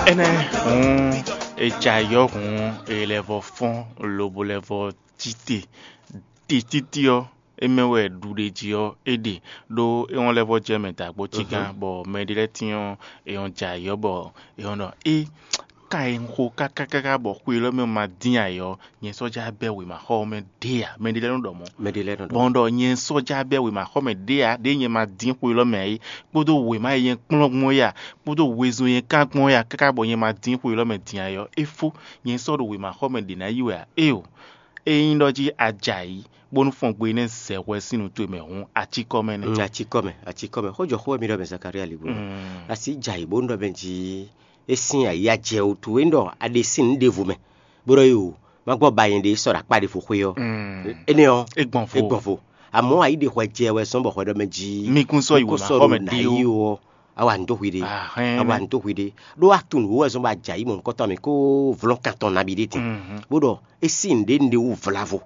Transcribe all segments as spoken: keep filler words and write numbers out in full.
Énɛ́ hǔn, è jɛ ayǐ ɔ́ hǔn, è lɛ́ vɔ fɔ́n lobo lɛ́ vɔ cí te. Te títí ɔ́, é mɛ wɛ ɖuɖéjí ɔ́ é ɖe, ɖó é wɔn lɛ́ vɔ jɛ mɛ dǎgbó cígán, bɔ mɛ ɖé lɛ́ɛ tyɔ́n è wɔn jɛ ayǐ ɔ́, bɔ è wɔn ɖɔ é ka e un xo káká káká bɔ xwe élɔ́ mɛ ma dín ayǐ ɔ́, nyɛ sɔ́ já bɛ́ wěmaxɔ ɔ́ mɛ ɖě ǎ. Mɛ ɖé lɛ́ɛ nɔ ɖɔ mɔ̌. Mɛ ɖé lɛ́ɛ nɔ ɖɔ. Bɔ un ɖɔ nyɛ sɔ́ já bɛ́ wěmaxɔ mɛ ɖě ǎ, ɖěe nyɛ ma dín xwe élɔ́ mɛ ǎ é, kpódó wěma e nyɛ kplɔ́n gbɔn é a, kpódó wezun e nyɛ kán gbɔn é a, káká bɔ nyɛ ma dín xwe élɔ́ mɛ din ayǐ ɔ́, é fó, nyɛ sɔ́ ɖo wěmaxɔ mɛ ɖě ná yi wɛ ǎ. Éeǒ, ényí ɖɔ jí a jɛ ayǐ, bónú fɔngbe énɛ́ zɛ hwɛ sín nǔ towe mɛ hǔn, a cí kɔ mɛ nɛ́. Mm, a cí kɔ mɛ, a cí kɔ mɛ. Xó jɔ xó wɛ mi ɖɔ mɛ Zakalía ligbó. Mm. A sì jɛ ayǐ bónú ɖɔ mɛ jí é sín ayǐ a jɛ wútu é ɖɔ a ɖe sín nǔ ɖěvo mɛ, bó ɖɔ yǒ, má gbɔ ba nyɛ ɖe sɔ́ ɖo akpá ɖěvo xwé ɔ́. Mm. Énɛ́ ɔ́, é gbɔn fo. É gbɔn fo. Àmọ́ ayǐ ɖe hwɛ jɛ wɛ zɔ́n bɔ hwɛ ɖɔ mɛ jí Mi kún sɔ́ yi mì kún wěma sɔ́ xɔ ɖo mɛ nǎ ɖé yí ó. Ó, a wa nǔ dó hwi ɖé. Ahɛn, a wa nú. Nǔ dó hwi ɖé. Ɖó a tunwun nǔ wɛ zɔ́n bɔ a jɛ ayǐ mɔ̌hunkɔtɔn mɛ kó vlɔ́n kan tɔn nabí ɖé din. Mhm. Bó ɖɔ é sí nǔɖé nǔɖé wú vlavo.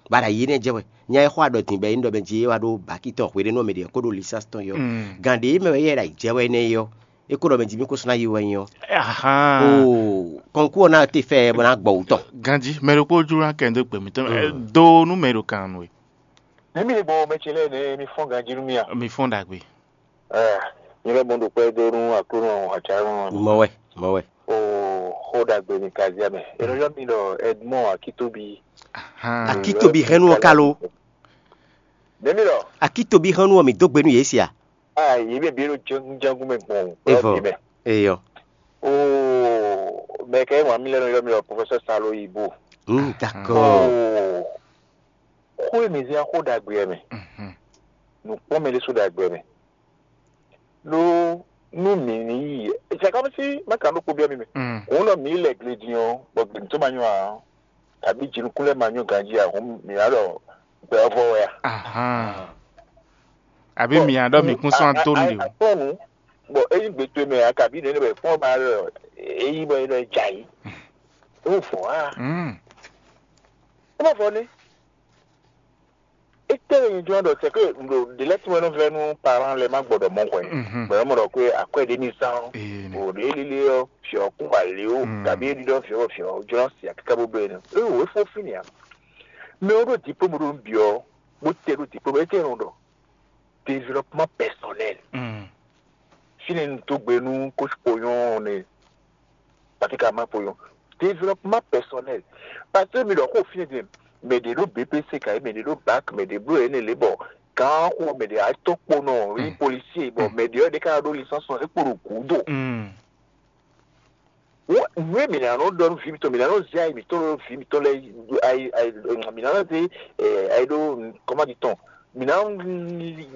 Bɔ a ɖo ayi énɛ́ jɛ wɛ. Nya e xɔ aɖɔ din bɔ é nyí ɖɔ mɛ jí é wá ɖó baki tɔn hweɖénú ɔ́ mɛ ɖě kó ɖó lisánsi tɔn yi ɔ́. Mm. Gǎn ɖě mɛ wɛ yɛ ɖo ayǐ jɛ wɛ énɛ́ yi ɔ́, é kó ɖɔ mɛ jí mì kó sú ná yi wɛ nyí ɔ́. Ahan. Oo, kɔnkú ɔ́ ná te fɛ bɔ ná gbɔ wú tɔn. Ganji, mɛ ɖokpó jló ná kɛ dó gbe mǐtɔn mɛ. Mm. Do nú mɛ ɖo kan nú we. Ní mi gbɔn mɛ ce lɛ́ɛ nɛ́ mi fɔ́n ganjí nú mì a? Mi fɔ́n ɖagbe. Ɛɛ, nyɛ lɛ́ mɔ ɖo kpɛ́ dó nú Aklúnɔ Atsǎnɔ. Mɔ wɛ, mɔ wɛ. Oo, xó ɖagbe ni kaziá mɛ. È nɔ yɔ mì ɖɔ Edmond Akitobi. Ahan. Akitobi hɛn nú ɔ ka lo. Nɛ́ mi ɖɔ? Akitobi hɛn nú ɔ mi dó gbe nú yě sia. Ah, yě mɛ bǐ ɖo jɛ́ngún mɛ gbɔn o. Evɔ. Eyɔ. Oo, mɛ kɛ wǎn mi lɛ́ nɔ ylɔ́ mi ɖɔ professeur Salo Yibo. Hmm, d'accord. Oo, xó e mi zé xó ɖagbe ɛ mɛ. Mhm. Nǔkpɔ́n mɛ ɖésú ɖagbe ɛ mɛ. Ɖó nú mǐ ní yi, c'est comme si má ka ɖó kpo byɔ́ mi mɛ. Mm. Òun nɔ mǐ lɛ gle din ɔ́, bɔ gběmítɔ́ ma nyɔ́ ǎ, kabí jinukún lɛ́ɛ ma nyɔ́ ganjí ǎ, hǔn mǐ ná ɖɔ gbɛ ɔ́ vɔ wɛ a? Ahan. Àbí mi ná ɖɔ mǐ kún sɔ́ antó nú ɖe o. Akpɔ́nù, bɔ é nyí gbe towe mɛ ǎ, kabí nɛ̌ nɛ bɔ è kpɔ́n ba ɖɔ é yí bɔ é nɔ jɛ ayǐ. É wú vɔ̌ á. Mm. É ma vɔ nɛ́. Étɛ́ wɛ nyɛ jlɔ́n ɖɔ c'est que ɖo ɖě lɛ́ɛ tɔn wɛ nɔ vɛ́ nú parán lɛ́ɛ má gbɔ ɖɔ mɔ̌ hwɛ. Mhm. Bɔ é mɔ ɖɔ xwé akwɛ́ ɖé ní zán. Ee, nɛ. O ɖě lílé ɔ́, fiɔ kún wà lé o, Mm. Kabí é ɖiɖɔ fiɔ fiɔ jlɔ́n si akíká bó bló énɛ́. É wò é fó fínì ǎ. Mɛ ɔ́ ɖó diplôme ɖó nǔ byɔ́, bó tɛ ɖó diplôme, étɛ́ nɔ ɖɔ développement personnel. Mm. Fínɛ́ un dó gbe nú coach Poyon ne, Patrick Ama Poyon. Développement personnel. Parce que mi ɖɔ xó fínɛ́ din, mɛ ɖě ɖó B P C ka, mɛ ɖě ɖó bac, mɛ ɖě bló N L bɔ gǎn xo, mɛ ɖě atɔ́ kponɔ, yi Mm. policier, bɔ Mm. mɛ ɖě ɔ́ ɖě ka ɖó licence, é kpo ɖo gǔdo. Mm. Wọ́n nǔ e mǐ ná nɔ ɖɔ nú vǐ mitɔn, mǐ ná nɔ zé ayi mǐtɔn ɖó vǐ mitɔn lɛ́ɛ, ayi ayi mǐ ná nɔ zé ɛ ayi ɖó kɔ́mádì tɔn, mǐ ná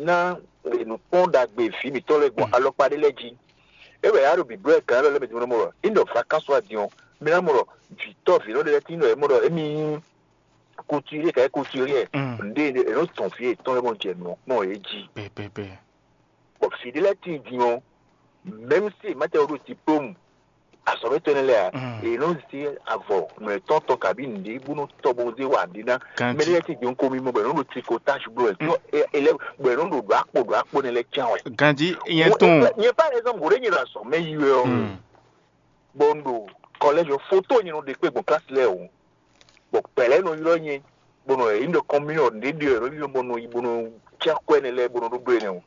ná nǔkpɔ́n ɖagbe vǐ mitɔn lɛ́ɛ gbɔn alɔkpa ɖé lɛ́ɛ jí. É wɛ yá ɖo bǐblɔ́ ɛ gǎn lɛ́ɛ mɛ din mɔ ɖɔ é nɔ vakánsó adin ɔ́, mǐ ná mɔ ɖɔ vǐtɔ́ vǐnɔ ɖé lɛ́ɛ tín ɖɔ é mɔ ɖɔ émí kutúrí ka é kutúrí ɛ Mm. ǹɖe è nɔ tɔn vǐ yětɔn lɛ́ɛ mɔ jɛ nǔ ɔ́ kpɔ́n yě jí. Pɛpɛpɛ. Bɔ vǐ ɖé lɛ́ɛ tíin din ɔ́, mɛ̌m si è má tɛ ɔ́ ɖó diplômu, azɔ̌mɛtɔ́ énɛ́ lɛ́ɛ ǎ, Mm. è nɔ zé avɔ nǔ etɔ́n tɔn kabí nǔɖé bó nɔ tɔ bó zé wa nǔɖé ná. Ganjí. Mɛ ɖé lɛ́ɛ tíin din ɔ́ ko mì mɔ bɔ è nɔ ɖo trikotáž bló wɛ, Mm. tɔ ɛ ɛ lɛ́ bɔ è nɔ ɖo ɖo akpo ɖo akpo énɛ́ lɛ́ɛ can wɛ. Ganjí, nyɛ Wọ́n- tún. Nyɛ par exemple, wǒ ɖé nyɛ ɖo azɔ̌mɛ yi wɛ ɔ́, Mm. bɔ un ɖo kɔlɛ́j ɔ́, foto nyɛ nɔ ɖe kpé gbɔn klasi lɛ́ɛ o. Bɔ kpɛ̌ lɛ́ɛ nɔ ylɔ́ nyɛ, bɔ nɔ yě ɖɔ kɔn mì nɔ ɖě ɖe ɔ́, nɔ ylɔ́ bɔ nɔ yi bɔ nɔ cí akwɛ́ nɛ́ lɛ́ɛ bɔ nɔ ɖó bló énɛ́ o.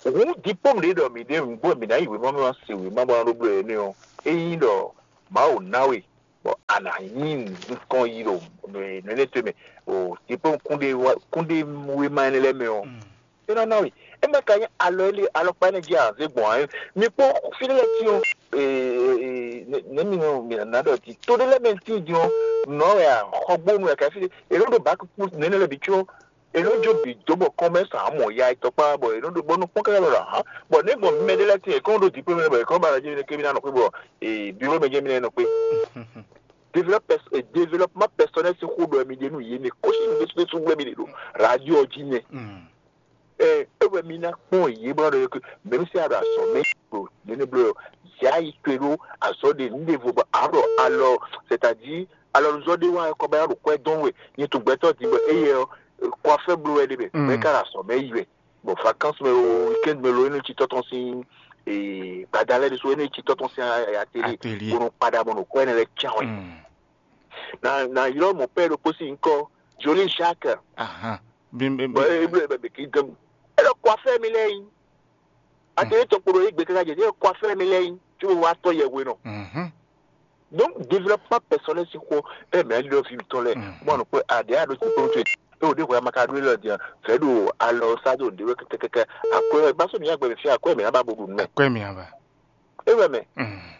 Hǔn diplôme ɖě ɖɔ mǐ ɖe nǔgbó mǐ ná yi wěma mɛ wá se wěma bɔ ná ɖó bló énɛ́ ɔ́, é nyí ɖɔ Mawu ná we, bɔ a nǎ nyí nukɔn yi ɖo nǔ énɛ́ towe mɛ, o diplôme kúnɖé wá- kúnɖé wéma énɛ́ lɛ́ɛ mɛ ɔ́, é ná ná we. É má ka nyí alɔ énɛ́ alɔkpa énɛ́ jí a zé gbɔn ǎ. Mi kpɔ́n fí ɖé lɛ́ɛ tín ɔ́, nɛ̌ mi nɔ mi ná ɖɔ jí? To ɖé lɛ́ɛ mɛ tín din ɔ́, nɔ̌ wɛ a xɔgbónu wɛ ka fí ɖé. È nɔ ɖo bǎ kúkú nɛ́nɛ́ lɛ́ɛ bǐ có, è nɔ jó bǐ dó bɔ kɔn mɛ sa mɔ ya etɔ́ kpá bɔ è nɔ ɖo bɔ nɔ kpɔ́n káká lɔ ǎ. Bɔ nɛ̌ gbɔn mi mɛ ɖé lɛ́ɛ tín è kɔn ɖo dǐ kpé mɛ bɔ è kɔn ba lɔ jí kébí ná nɔ xwé bɔ biro mɛ jẹ́ mi nɔ kpé. Développement personnel sín xó ɖɔ mi ɖe nú yě mɛ kɔ́sí mi ɖésú ɖésú wɛ mi ɖe ɖo radio jí nɛ. Ɛ é wɛ mi ná kpɔn yě bó ná ɖɔ yě ké, mɛ̌m sɛ a ɖo azɔ̌ mɛ ɖo nɛnɛ bló yɔ, zɛ ayi towe ɖó azɔ̌ ɖe nǔ ɖěvo bɔ a ɖɔ alɔ, c'est-à-dire alɔzɔ́ ɖé wá kɔ bá ɖo kwɛ́ dɔn we, nyɛ tun gbɛtɔ́ din bɔ éyɛ ɔ́, kɔfɛ bló wɛ ɖe mɛ, bɔ é ka ɖo azɔ̌ mɛ yi wɛ, bɔ vacances mɛ o, weekend mɛ lo énɛ́ ci tɔ́tɔ́n sín gbada lɛ́ɛ ɖésú énɛ́ cí tɔ́ tɔn sín atelier, bó nɔ kpaɖa bɔ nɔ kɔ ɛnɛ lɛ́ɛ can wɛ. Na na ylɔ́ mɔ pɛ́ ɖokpó sín nyǐkɔ Jolie Jacques. Bɔ é bló bɛ kí dɔn. É ɖɔ kɔ afɛ mi lɛ́ɛ yí. Atelier tɔn kpo ɖo yí gbe káká jɛ é kɔ afɛ mi lɛ́ɛ yí. Tí mo wá tɔ́ yɛ hwe nɔ. Donc développement personnel si xo ɛ mɛ lɔ fi tɔn lɛ mo anu kpe aɖe aɖo ti kpɔn tue. Ɛ o ɖe hwe amaka ɖo lɔ dia fɛ ɖo alɔ sa ɖo ɖe wɛ kɛkɛkɛ akɔ ɛ ba so mi agbɛ mi fi akɔ ɛ mi aba bo ɖu nɛ. Akɔ ɛ mi aba. E wɛ mɛ.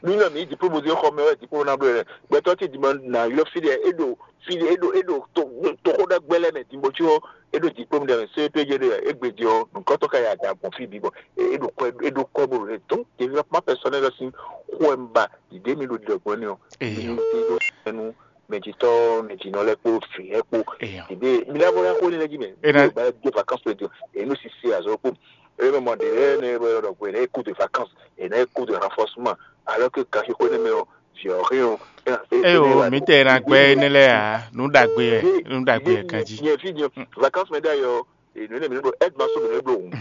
Mi nɔ mi diplôme di xɔ mɛ wɛ diplôme na blɛ. Gbɛtɔ ti di ma na yɔ fi ɖe e ɖo fi ɖe e ɖo e ɖo to to xo ɖe gbɛ lɛ mɛ di mo tso e ɖo diplôme ɖe mɛ C P G ɖe e gbe di ɔ nukɔtɔ ka ya da gbɔn fi bi bɔ e ɖo kɔ e ɖo kɔ bo ɖe. Donc développement personnel sin xo ɛ ba dìde mi ɖo ɖiɖɔgbɔn ni ɔ. Eyo. Mi ti ɖo sɛnu mɛjitɔ mɛjinɔ lɛ kpo fi lɛ kpo. Eyo. Dìde mi lɛ bɔ ya xo ni lɛ ji mɛ. Ena. Mi ba do vacances lɛ di ɔ enu sisi azɔ kpo. E mɛ mɔ de ɛ ne bɔ yɔ ɖɔ ko ene cours de vacances ene cours de renforcement alors que kasi xo ne mɛ ɔ viɔ ri ɔ. Eyo, mi tɛ na gbɛ ne lɛ ya nu ɖagbe yɛ nu ɖagbe yɛ kan ji. Nyɛ fi nyɛ vacances mɛ da yɔ enu ne mi ne ɖo aide ma so mi ne ɖo hun.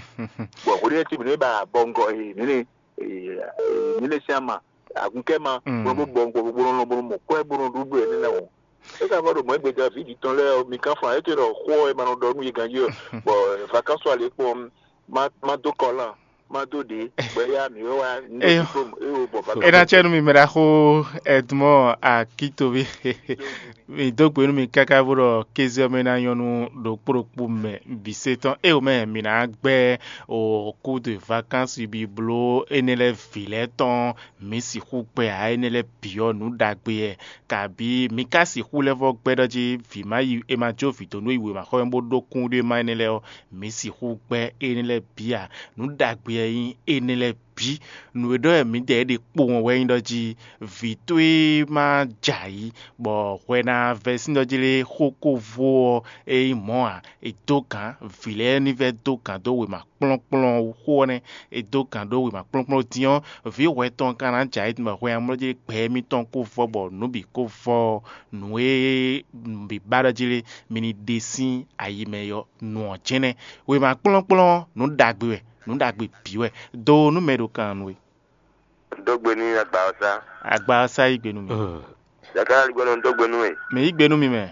Bɔn xo ne ti mi ne ba bɔngɔ enu ne enu ne siama agunkɛ ma bɔn bɔ bɔngɔ bɔn bɔn mɔ kɔɛ bɔn ɖu ɖu ene na o. E ka vɔ ɖo mɔ egbe da vi di tɔn lɛ mi kan fan e te ɖɔ xɔ e ma nɔ ɖɔ nu yi ganji ɔ. Bɔn vacances ale kpɔn ma ma do kɔlan ma do ɖe gbɛ ya mi wɛ wa n do Eyo. Diplôme e o bɔ vacances. E na tsɛ nu mi mɛ ɖaxo Edmond Akitovi. Mi dó gbe nú mi káká bó ɖɔ kéze ɔ́ mɛ ná nyɔ́ nú ɖokpó ɖokpó mɛ bǐ se tɔn. Eo mɛ mi ná gbɛ́ o cours de vacances bi bló énɛ́ lɛ́ɛ vǐ lɛ́ɛ tɔn. Mi sixú gbɛ ǎ énɛ́ lɛ́ɛ bǐ ɔ́ nǔ ɖagbe wɛ. Kabǐ mi ka sixú lɛ́ vɔ́ gbɛ́ ɖɔ jí vǐ ma yi è ma jó vǐ dó nú yi wěma xɔ mɛ bó ɖó kún ɖé ma énɛ́ lɛ́ɛ ɔ́, mi sixú gbɛ́ énɛ́ lɛ́ɛ bǐ ǎ. Nǔ ɖagbe wɛ nyí énɛ́ lɛ́ɛ bǐ. Nǔ e ɖɔ wɛ mǐdɛɛ ɖe kpowun wɛ nyí ɖɔ jí vǐ towe ma jɛ ayǐ, bɔ hwɛ ná vɛ́ sín ɖɔ jí lé xó ko vo ɔ́, é nyí mɔ̌ ǎ. È dó gǎn, vǐ lɛ́ɛ ní vɛ́ dó gǎn dó wěma kplɔ́nkplɔ́n xó ɔ́ nɛ́. È dó gǎn ɖó wěma kplɔ́nkplɔ́n dín ɔ́, vǐ hwɛ tɔn ka ná jɛ ayǐ tɔn bɔ hwɛ amlɔ jí gbɛ émítɔn ko vɔ bɔ nǔ bǐ ko vɔ ɔ́, nǔ e bǐ ba ɖɔ jí lé, mi ní ɖe sín ayi mɛ ɔ́, nǔ ɔ́ jɛ́n nɛ́. Wěma kplɔ́nkplɔ́n ɔ́, nǔ ɖagbe wɛ, nǔ ɖagbe bǐ wɛ. Do nú mɛ ɖo kan nú we. Dó gbe ní agba ɔ́ sá. Agba ɔ́ sá yí gbe nú mi. Yàtá aligbɔnɔ ń dó gbe nú we. Mɛ yí gbe nú mi mɛ.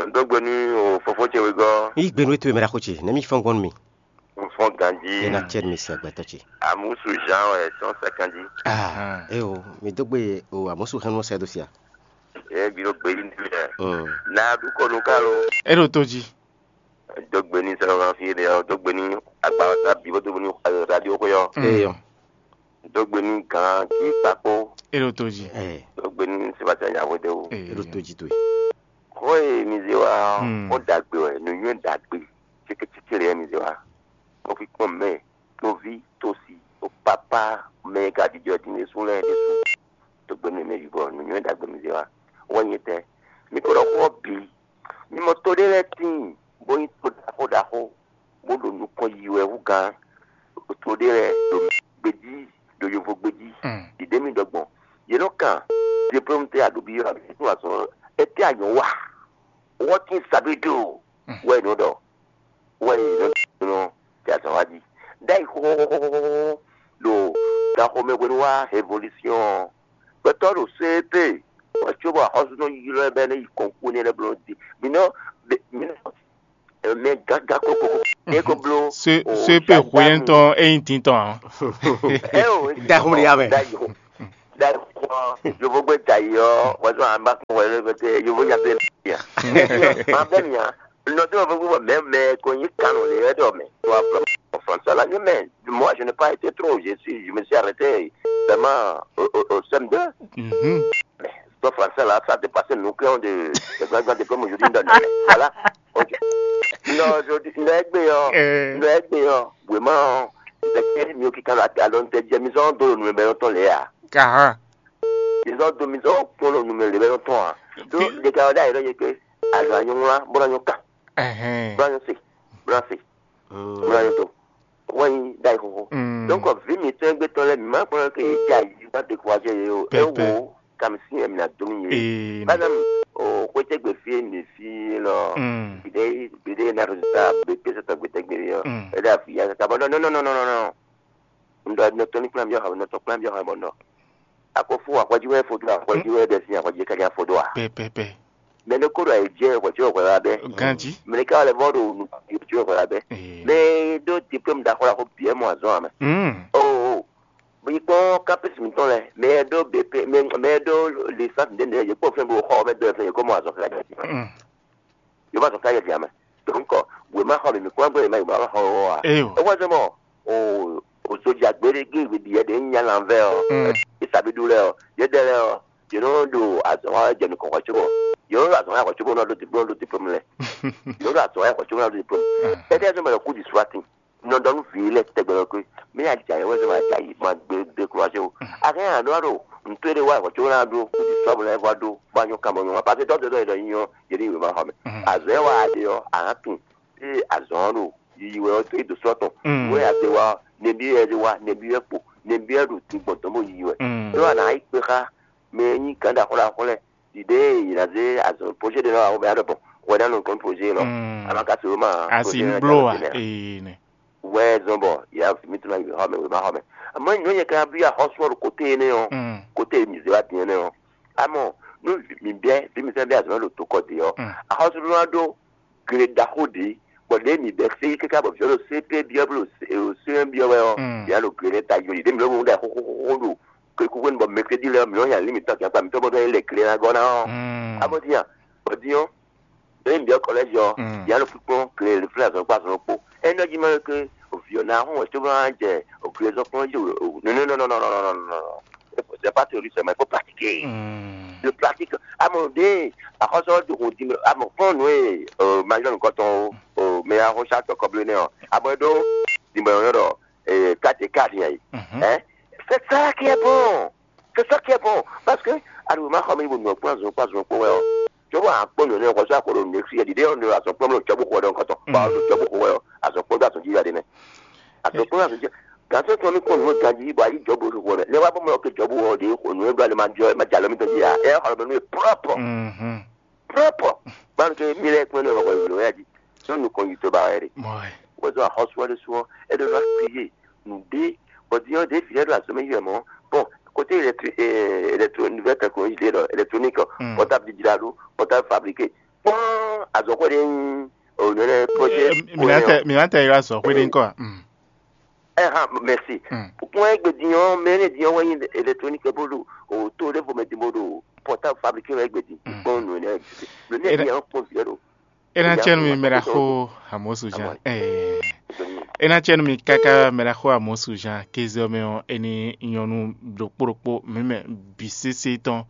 Ń dó gbe nú o fofó ce wegɔ́. Yí gbe nú we to e mɛ ɖaxó ce, nɛ̌ mi fɔ́n gbɔn nú mi? Ń fɔ́n ganjí. É ná cɛ nú mi sin agbɛtɔ́ ce. Àmúsù Jean wɛ tɔn sɛkánjí. Ah, é o, mi dó gbe o àmúsù hɛn nú sɛ dó sia. É bi ɖó gbe yí ní mi lɛ. Mm. Ná dúkɔ nú ká lo. É ɖo tó jí. Dó gbe ní sɛlɔ́ fi ɖe ɔ́, dó gbe ní agba ɔ́ sá bǐ bó dó gbe ní radio xwe ɔ́. Eyɔ. Dó gbe ní gǎn kí kpakpó. É ɖo tó jí. Ɛ, Dó gbe ní Sébastien Yahweh de o. Ɛ, é ɖo tó jí towe. Xó e mi zé wá ɔ́, Mm. Xó ɖagbe wɛ, nǔnywɛ́ ɖagbe, cékécéké lɛ́ɛ mi zé wá. Mo fi kpɔ́n mɛ, toví, tosi, o papá, mɛ e ka jijɔ din ɖésú lɛ́ɛ ɖésú. Dó gbe ní mɛ yibɔ, nǔnywɛ́ ɖagbe mi zé wá. Wɛ nyɛ tɛ. Mi ko ɖɔ xó ɔ́ bǐ. Mi mɔ to ɖé lɛ́ɛ tíin, bó nyí to ɖaxó ɖaxó, bó ɖo nukɔn yi wɛ hú gán. To ɖé lɛ́ɛ ɖo gbejí, ɖo yovo gbejí. Mm. Ɖiɖe mi ɖɔ gbɔn. Yě nɔ kan diplôme tɛ aɖo bi yɔ abǐ tó azɔn. Etɛ anyɔ wa. What is sabido? Mm. Wɛ nɔ ɖɔ. Wɛ nɔ nɔ tɛ azɔn wa di. Dai xɔxɔxɔxɔ ɖo gaxɔmɛ hwenu wa révolution. Gbɛtɔ ɖo C P. Wɛ tso bɔ axɔzunɔ ylɔ bɛ ne yi kɔnkú ne lɛ blɔ di. Mi nɔ mi nɔ mɛ gaga koko. Ne ko blo. Se o se pe xwe yɛn tɔn eyin tin tɔn. Eo. Da xo mi ya mɛ. Da yi xo. Da yi xo. Yovo gbe da yi ɔ wazɔ an ba kun wale bɛ te yovo ya bɛ mi ya. Ma bɛ mi ya. Nɔ tɛ o fɛ gbɔ mɛ mɛ ko nyi kanu le yɛ dɔ mɛ. To a fɔ français la ni mɛ moi je n'ai pas été trop je suis je me suis arrêté vraiment au au au C M deux. Mhm. Toi, français là, ça a dépassé nous qui avons de, de grands, grands diplômes aujourd'hui dans le. Voilà. Ok. Non, aujourd'hui, non, egbe yo. Eh. Non, egbe yo. Vraiment, c'est que mieux qui quand la talon de Jameson dans le numéro ton léa. Kaha. Ils ont de maison pour le numéro de ton. Donc, les gars, là, il y a que, alors, il y a un, bon, il y a un cas. Ehɛn. Bon, il y a un, c'est. Bon, il y a un, c'est. Wɛnyi ɖayi xoxo. Mm. Donc vi mǐtɔn e gbé tɔn lɛ́ɛ mǐ ma kplɔ́n ke yě jɛ ayǐ bó ná découragé yě o. Pɛpɛ. É wo kami sín yɛ mǐ ná dó nú yě. Ee. Bana o xwétɛ́gbe fí e mǐ fí lɔ. Mm. Gbeɖé gbeɖé ná résultat be pé sɔtɔ gbetɛ́gbe ɔ́. Mm. É ɖo afi ya kaka bɔ non non non non non non. Un ɖɔ nɔ tɔn ní kplán byɔ́ xɔ, nɔ tɔn kplán byɔ́ xɔ bɔ un ɖɔ. Akɔfó axɔjí wɛ fo dó axɔjí wɛ ɖɛ sín axɔjí ká nyá fo dó a? Pɛpɛpɛ. Mɛ ɖé kó ɖɔ ayǐ jɛ hwɛ̌ tí wɛ hwɛ wá bɛ́. Ganji. Mɛ ɖé ká wá lɛ vɔ́ ɖo nukún tí wɛ hwɛ wá bɛ́. Ee. Mɛ e ɖó diplôme ɖaxó ɖaxó bǐ wɛ mɔ azɔn ame. Mm. Oo. Yi kpɔ́n kápis mǐtɔn lɛ, mɛ e ɖó B P, mɛ mɛ e ɖó licence ɖé nɛ, yě kpɔ́n fɛn bó xɔ mɛ dó fɛn yě kó mɔ azɔn káká ɖe. Mm. Yě mɔ azɔn káká ɖe mɛ. Donc wěma xɔ mi mi kpɔ́n gbé yě ma yě ma xɔ wɔ a? Eyo. É wá zɔn mɔ o o soja gbé ɖé gé ɖiɛ ɖé nya lanvɛ ɔ. Mm. Isabidu lɛ ɔ, yě ɖɛ lɛ ɔ, yě nɔ ɖo azɔn wa jɛ nukɔn xɔ cóbɔ. Yě nɔ ɖo azɔn wa xɔ cóbɔ nɔ ɖo diplôme ɖo diplôme lɛ. Yě nɔ ɖo azɔn wa xɔ cóbɔ nɔ ɖo diplôme. Mm. Étɛ́ zɔn mɛ ɖɔ kú di sua tin. Nɔ ɖɔ nú vǐ lɛ́ɛ tɛgbɛ ɖɔ pé mí a jǎ yɛ wɛ zɔn ma jǎ yi ma gbé gbé klo ase o. A hɛn a ɖɔ ɖo ntó ɖé wá xɔ cóbɔ ná ɖó kú di sua bɔ lɛ vɔ ɖó bɔ anyɔ kan bɔ nyɔ ma parce que dɔdɔ dɔ yɛ ɖɔ nyɔ yě ɖi wěma xɔ mɛ. Mm. Azɔn wa ɖe ɔ a hã tun. Ée azɔ̌ ɔ́ ɖo yiyi wɛ ɔ́, é dǒ sɔ́ tɔn. Mm. Nǔ e a zé wá ɔ́, nɛbí wɛ ɛ zé wá, nɛbí wɛ kpo, nɛbí wɛ ɖo din gbɔn dɔ̌n bó yiyi wɛ. Mm. É wá ná yi kpe xá mɛ e nyí gǎn ɖaxó ɖaxó lɛ́ɛ ɖiɖe e yě ná zé azɔ̌ projet ɖé ná wa wɛ bɔ é ná ɖɔ gbɔn wɛ ná nɔ gɔ́n projet élɔ́. Mm. A ma ka se wéma ǎ, asi projet ń énɛ́ bló ká a? Nɔ tɛnmɛ ǎ. Ee, nɛ. Wɛ zɔn bɔ yě á vi mì tún ná yi xɔ mɛ, wěma xɔ mɛ. Àmọ́ nyɔ̌ nyɛ ka byɔ́ axɔ́sú ɔ́ ɖo kóté énɛ́ ɔ́, mm, kóté e mǐ zé wá din énɛ́ ɔ́. Amɔ nú mǐ bɛ́ vǐ mǐtɔn bɛ́ azɔ̌ ɖo tokɔ dě ɔ́, mm, axɔ́sú ɖó ná ɖó gle ɖaxó ɖě, bɔ ɖěe mǐ bɛ́ xwé káká bɔ vǐ ɔ́ ɖo C P byɔ́ bó ɖo C E un byɔ́ wɛ ɔ́, mm, mǐ á ɖo gle lɛ́ɛ ta yoli ɖě mǐ lɔ́ ɖo xóxóxóxó ɖo kekúkú bɔ mɛkúɖí lɛ́ɛ ɔ́, mǐ nɔ́ nya lǐ mǐtɔn kɛ́nkpa mǐtɔn bó ɖɔ é lɛ gle ná gɔ́ ná ɔ́. Mm. Abɔ́ dín a? Bɔ dín ɔ́, ɖěe mǐ byɔ́ kɔlɛ́zi ɔ́, mm, mǐ á nɔ kpínkpɔ́n gle flɛ́ azɔn kpó azɔn kpó. É nɔ jí mɛ ke vǐ ɔ́ ná hɔn wɛ cóbɔ ná jɛ gle zɔn kplɔ́n jí nɔnɔnɔnɔnɔnɔ. C'est pas théorie seulement, il faut pratiquer. Mm. Je pratique. Amɔ ɖe axɔsɔ do ko di amɔ fɔn nue major nukɔtɔn o mɛ axɔsa tɔkɔ ble nɛ ɔ amɔ ɖo dimɔ yɔ ɖɔ kati kati yɛ yi. Mhm. Hein? C'est ça qui est bon. C'est ça qui est bon. Parce que alors ma xɔ mi bo nɔ kpɔn azɔn kpɔn azɔn kpɔn wɛ ɔ. Cɔbɔ akpɔ nɔ ne xɔsɔ akɔ ɖo ne fi ɛdi ɖe ɔ ne azɔn kpɔn mɛ cɔbɔ xɔ ɖe nkɔtɔ. Ba ɔ cɔbɔ xɔ wɛ ɔ azɔn kpɔn do azɔn ji ya ɖe nɛ. Azɔn kpɔn azɔn ji. Gantɔ tɔ mi kpɔn nɔ ganji bɔ ayi jɔbɔ xɔ wɛ. Ne wa bɔ mɔ ke jɔbɔ wɔ ɖe xɔ nɔ e do ale ma jɔ ma jalɔ mi tɔ ji ya. Ɛ xɔ mɛ nu ye propre. Mhm. Propre. Ban ke mi lɛ kpɔn ne xɔ wɛ ya ji. Sɔ nu kɔn yi to ba wɛ de. Mɔɛ. Wɛzɔ axɔsu wɛ de su ɔ. E do na kriye. Nu de. Bɔ di ɔ de fi lɛ do azɔn mi yɔ mɔ. Bon, côté électri- euh, électro nouvelle technologie de électronique. Mm. Portable digital, portable fabriqué. Kpɔn azɔn ko de. O ne ne projet. Mina tɛ mina tɛ yɔ azɔn ko de nkɔ. Mm. Ɛhã, merci. Mm. Kpɔn egbe din ɔ mɛ ne din ɔ wɛ nyi électronique bó ɖo o to ɖe vo mɛ din bó ɖo portable fabriqué wɛ egbe din. Mm. Kpɔn nu ne nu ne din ɔ kpɔn viɛ ɖo. E ná tsɛnu mi mɛ ɖaxó Amosu Jean. Ɛɛ. E ná tsɛnu mi káká mɛ ɖaxó Amosu Jean kéze ɔ́ mɛ ɔ́, e ní nyɔ́nu ɖokpó ɖokpó mǐ mɛ bǐ sésé tɔn.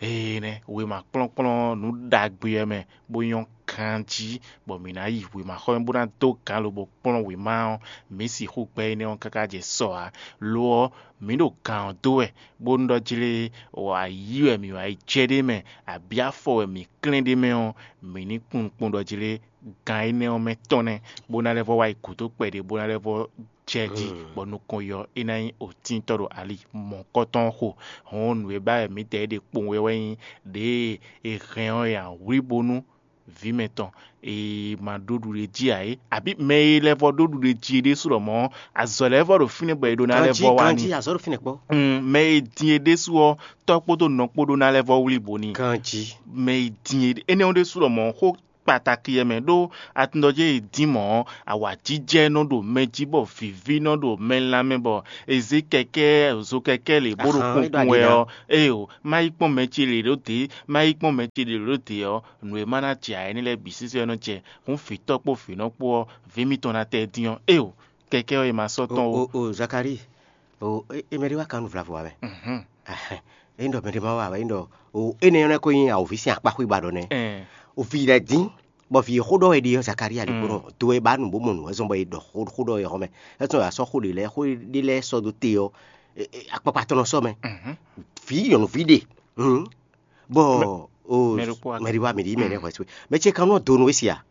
Ee nɛ wěma kplɔ́nkplɔ́n nǔ ɖagbe ɔ́ mɛ bó nyɔ́ ganjí, bɔ mǐ ná yi wěmaxɔmɛ bó ná dó gǎn lobo kplɔ́n wěma ɔ́, mǐ sixú gbɛ́ énɛ́ ɔ́ káká jɛ sɔ ǎ. Lo ɔ́, mǐ ɖo gǎn ɔ́ dó wɛ, bónú ɖɔ jlé wǎ yí wɛ mǐ wǎ yi jɛ ɖé mɛ, abǐ afɔ wɛ mǐ klɛ́n ɖé mɛ ɔ́, mǐ ní kpɔ́n nukpɔ́n ɖɔ jlé gǎn énɛ́ ɔ́ mɛ tɔn nɛ́, bó ná lɛ́ vɔ wá yi gǔdo kpɛɖé, bó ná lɛ́ vɔ jɛ jí, bɔ nukɔn yi ɔ́, é ná nyí òtíntɔ́ ɖo ali mɔ̌kɔtɔn ɔ́ xo. Hɔn nǔ e ba wɛ mǐdɛɛ ɖe kpowun wɛ wɛ nyí ɖěe è hɛn ɔ́ è nǎ wlí bónú vǐ mɛtɔn e ma ɖó ɖuɖe jí ǎ é, abǐ mɛ e lɛ́ vɔ ɖó ɖuɖe jí é ɖésú lɔmɔ̌, azɔ̌ lɛ́ɛ vɔ ɖo fínɛ́ bɔ è ɖó ná lɛ́ vɔ wá n'i. Azɔ̌ ɖo fínɛ́ kpɔ́. Mm, mɛ e din é ɖésú ɔ́, tɔ́ kpódó nɔ kpó ɖó ná lɛ́ vɔ wlí bo n'i. Ganjí. Mɛ e din é énɛ́ ɔ́ ɖésú lɔmɔ̌ xó kpataki yɛ mɛ ɖó atundɔjé e dín mɔ̌ ɔ́, awǎjijɛ nɔ ɖo mɛ jí bɔ vǐví nɔ ɖo mɛ lanmɛ bɔ è zě kɛkɛ́ zokɛkɛ́ lě bó ɖo kunkun wɛ ɔ́, éyo, má yi kpɔ́n mɛ ce lě ɖó dě, má yi kpɔ́n mɛ ce lě ɖó dě ɔ́, nǔ e ma ná jɛ ǎ énɛ́ lɛ́ɛ bǐ sísɔ́ nɔ jɛ hǔn vǐtɔ́ kpó vǐnɔ kpó ɔ́, vǐ mitɔn ná tɛ dín ɔ́, éyo, kɛkɛ́ ɔ́ è ma sɔ́ tɔ́n ó. O Zakari, o e mɛ ɖé wá kan nú vlavo wá mɛ. Mhm. Éyí ɖɔ mɛ ɖé ma wá wɛ éyí ɖɔ o énɛ́ ɔ́ nɛ́ ko nyí awǒvi sín akpáxwé ba ɖɔ nɛ́. Ɛn. O vi lɛ́ɛ dín bɔ vi xó ɖɔ wɛ ɖi ɔ́ Zakaria ɖi kpó nɔ do e ba nǔ bó mɔ nǔ wɛ zɔn bɔ è ɖɔ xó xó ɖɔ wɛ xɔmɛ. Ɛsɔn wɛ asɔ xó ɖě lɛ́ɛ xó ɖé lɛ́ɛ sɔ dó te ɔ́, akpakpa tɔn nɔ sɔ mɛ. Mhm. Vǐ nyɔ̌nuví ɖe. Mhm. Bɔ o mɛ ɖokpó wa mɛ ɖi wa mɛ ɖi mɛ ɖe hwɛ so mɛ ce kan nɔ do nú we sia.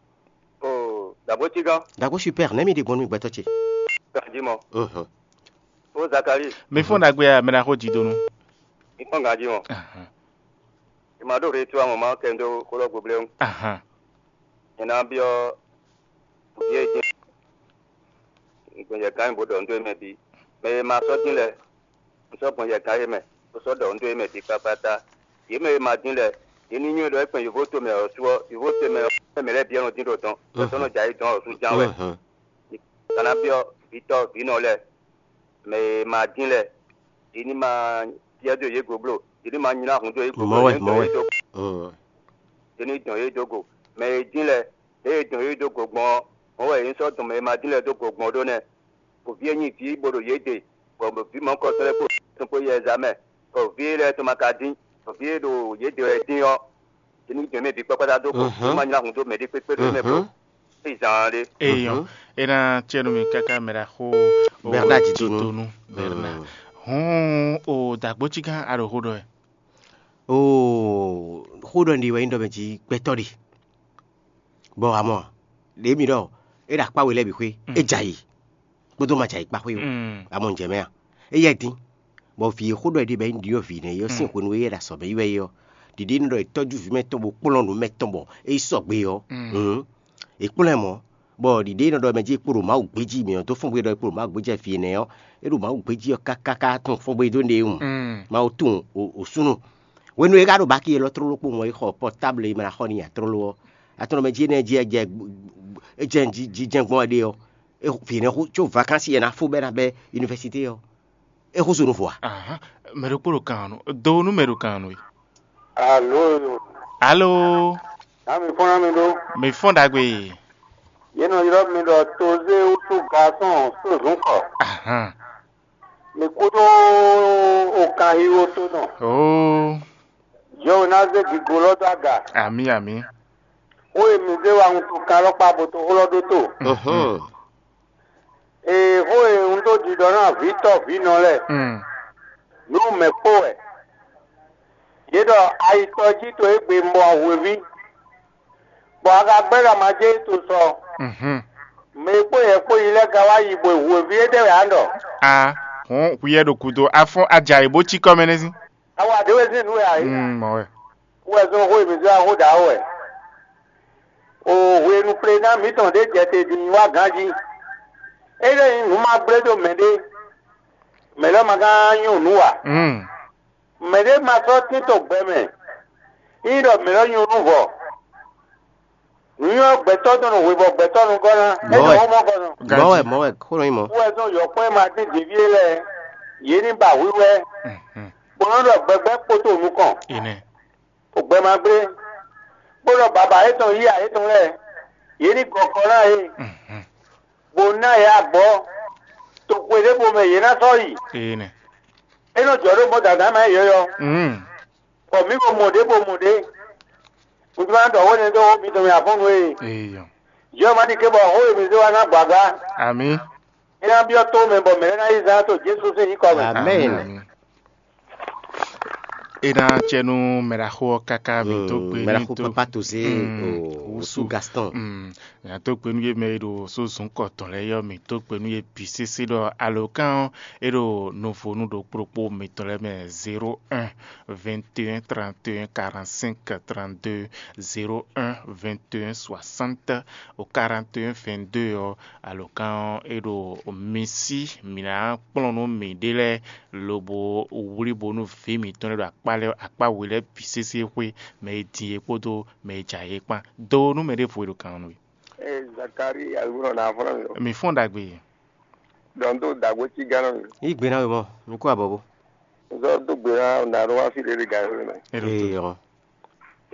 O dàbó tí gán. Dàgbò super nɛ́ mi ɖi gbɔn nú mi gbɛtɔ ce. Gàjí mɔ. Mhm. O Zakari. Mi fún dagbe ya mɛ ɖaxó jí donu. Mi fún gàjí mɔ. Ahan. Ìmọ̀ àdó rèé tí wàá mọ̀ máa kẹ́ ń dó kó lọ́ọ́ gboblé ń. Ahan. Ìná bí ọ́ bí é jẹ́. Ìgbìyànjẹ kan ìbò dọ̀ ń dó mẹ́ bí. Mɛ e ma sɔ́ dín lɛ́ɛ, un sɔ́ gbɔn yɛkan e mɛ, bó sɔ́ ɖɔ nǔ dó yě mɛ bǐ kpákpáta. Yě mɛ e ma dín lɛ́ɛ, yě ní nywɛ́ ɖɔ é kpɛn yǒvóto mɛ ɔ́ su ɔ́, yǒvóto mɛ ɔ́, mɛ lɛ́ɛ bǐ wɛ nɔ dín ɖo dɔn, bɔ sɔ́ nɔ jɛ ayǐ dɔn ɔ́ su ján wɛ. Kana byɔ́ vǐtɔ́ vǐnɔ lɛ́ɛ, mɛ e ma dín lɛ́ɛ, yě ní ma byɔ́ dó yě gǒbló, yě ní ma nylá hun dó yě gǒbló, Mɔ̌ wɛ, yě ní mɔ̌ dɔn wɛ. yě dó Mm. yě ní dɔn yě dó go. Mɛ e dín lɛ́ɛ, lě e dɔn yě dó go gbɔn ɔ́, mɔ̌ wɛ yě ní sɔ́ dɔn mɛ e ma dín lɛ́ɛ dó go gbɔn ɖó nɛ́. Vǐ e nyi vǐ bó ɖo yě ɖe, bɔ vǐ mɔ̌hunkɔtɔn lɛ́ɛ kpó tɔn kpó yɛ zǎ mɛ, bɔ vǐ e lɛ́ɛ tɔn ma ka dín, bɔ vǐ e ɖo yě ɖe wɛ dín ɔ́, yě ní jɛ mɛ bǐ kpákpáta dó go, yě má nylá hun dó mɛɖé kpékpé ɖo yě mɛ bló. É zǎn ɖé. Eyɔn, é ná cɛ nú mi káká mɛ ɖaxó Bernard Didonu. Didonu Bernard. Hɔn o dàgbócígán a ɖo xó ɖɔ ɛ. Oo, xó ɖɔ un ɖe wɛ nyí ɖɔ mɛ jí gbɛtɔ́ ɖe. Bɔ amɔ, ɖě mi ɖɔ é ɖo akpá we lɛ́ɛ bǐ xwé, é jɛ ayǐ, kpódó ma jɛ ayǐ kpá xwé o. Amɔ un jɛ mɛ a? Éyɛ́ dín, bɔ vǐ e xó ɖɔ è ɖe bɔ é ɖyɔ́ vǐ nɛ́ é ɔ́ sín hwenu e é ɖo azɔ̌ mɛ yi wɛ é ɔ́, ɖiɖe nɔ ɖɔ è tɔ́jú vǐ mɛ tɔn bó kplɔ́n nǔ mɛ tɔn bɔ é yí sɔgbe ɔ́, hǔn, è kplɔ́n ɛ mɔ̌, bɔ ɖiɖe nɔ ɖɔ mɛ jí è kpo ɖo Mawu gbéjí mǐ ɔ́ dó fɔ́n bó ɖɔ è kpo ɖo Mawu gbéjí fí énɛ́ ɔ́, é ɖo Mawu gbéjí ɔ́ káká ká tunwun fɔ́n bó e dó ɖe wǔ. Mawu tunwun o sunu. Hwenu e é ka ɖo baki élɔ́ tlóló kpowun ɔ́, é xɔ pɔtábl e mɛ ná xɔ n'i ǎ tlóló ɔ́, atɔ́nɔmɛ jí énɛ́ jí é jɛ é jɛ jijɛ́n gbɔn wɛ ɖe ɔ́, é vǐ nɛ́ xó có vakansi e ná fó bɔ é ná bɛ́ univɛsité ɔ́, é xó so nú vo ǎ. Ahán, mɛ ɖokpó ɖo kan ɔ́ nú, do nú mɛ ɖo kan ɔ́ nú we. Alo, Alo, ná mi fɔ́n ná mi ɖó. Mi fɔ́n ɖagbe. Yě nɔ ylɔ́ mi ɖɔ tozé wútu gasɔn sózǔnkɔ. Ahán. Mi kúdó okanxixo tó nɔ. Oo. Yɔ̌ ná zé gǐgó lɔ dó aga. Amǐ, amǐ. Xó e mi zé wa wuntun kan lɔ kpa bo to xó lɔ ɖótó. Ee, xó e un dó ɖiɖɔ ná vǐtɔ́ vǐnɔ lɛ́ɛ, Mm. nǔ mɛ kpó wɛ. Yě ɖɔ ayitɔ jí to égbé mɔ hweví, bɔ a ka gbɛ́ ɖɔ ma jɛ é to sɔ. Mhm. Mɛ e kpó yɛ kpó yi lɛ́ɛ ka wá yi bɔ hweví éɖɛ́ wɛ a ɖɔ. A hɔn hwiɛ ɖo kudo afɔn aja yi bó cí kɔmɛ nɛ́ sín. Awa ɖě wɛ sín nǔ wɛ a yě. Mm, mɔ wɛ. Wɛ zɔn xó e mǐ zɔ́n axó ɖǎ wɛ. O hwenu plená mǐtɔn ɖě jɛ te din wá ganjí. É lɛ́ nyí nǔ ma gblé ɖó mɛɖé, mɛ̌ lɛ́ɛ ma ka nyɔ́ nǔ ǎ. Mm. Mɛɖé ma sɔ́ tín to gbɛ mɛ, ényí ɖɔ mɛ̌ lɛ́ɛ nyɔ́ nú vɔ. Nǔnywɛ́ gbɛtɔ́ dɔn nɔ hwe bɔ gbɛtɔ́ nɔ gɔ́ ná, é Mɔ̌ nɔ wɛ. Xó mɔ gɔ́ nɔ. Mɔ̌ wɛ, mɔ̌ wɛ, xó nɔ nyí mɔ̌. Wɛ zɔn yɔ̌kpɔ́ e ma dín dǐví é lɛ́ɛ, yě ní ba hwíhwɛ́, Mhm. bó nɔ́ ɖɔ gbɛgbɛ́ kpótó nukɔn. Enɛ. O gbɛ ma gblé, bó nɔ baba yětɔn yí ayětɔn lɛ́ɛ, yě ní gɔn kɔ ná yě, Mhm. bó ná yě agbɔ̌, toxwe ɖěvo mɛ yě ná sɔ́ yi. Enɛ. É nɔ jɔ ɖó mɔ dǎdá ma yɔ́yɔ́, Mm. bɔ mǐ ko mɔ ɖě bo mɔ ɖě. Un jló ná ɖɔ xó énɛ́ dó xó mitɔn mɛ afɔ́nnu e. Eyɔ. Yɔ́ ma ɖi ké bɔ xó e mi zé wá ná gbǎgbá. Amǐ. É ná byɔ́ tó mɛ bɔ mɛ̌ lɛ́ɛ ná yí zán to Jezu sín nyǐkɔ mɛ. Amɛn. Amǐ. É ná cɛ nú mɛɖaxó ɔ́ káká mǐ tó gbe ní mɛɖaxó tó. Papa Tozé Mm, o Wusu. Wusu Gaston. Mm, mǐ ná tó gbe nú yě mɛ e ɖo só zǔnkɔ tɔn lɛ́ɛ yɔ́ mǐ tó gbe nú yě bǐ sésé ɖɔ alǒkan ɔ́ é ɖo nuvonu ɖokpó ɖokpó mǐtɔn lɛ́ɛ mɛ zéro un vingt et un trente et un quarante-cinq trente-deux, zéro un vingt et un soixante au quarante et un vingt-deux ɔ́, alǒkan ɔ́ é ɖo mi sí mǐ ná kplɔ́n nú mǐɖée lɛ́ɛ lobo wlí bónú vǐ mǐtɔn lɛ́ɛ ɖo akpá lɛ́ɛ akpá we lɛ́ɛ bǐ sésé xwé, mɛ e din é kpódó mɛ e jɛ ayǐ é kpán. Do nú mɛ ɖěvo e ɖo kan ɔ́ nú we. Ee, Zakari, alugunɔ na afɔlɔ mi. Mi fɔ́n ɖagbe. Dɔn tó dagbo ci gánɔ mi. Yí gbe ná we mɔ, mi kú abɔbɔ. Zɔ dó gbe ná o na ɖo wá fi lele gǎn mi. Ero Ee, to. Ɔn.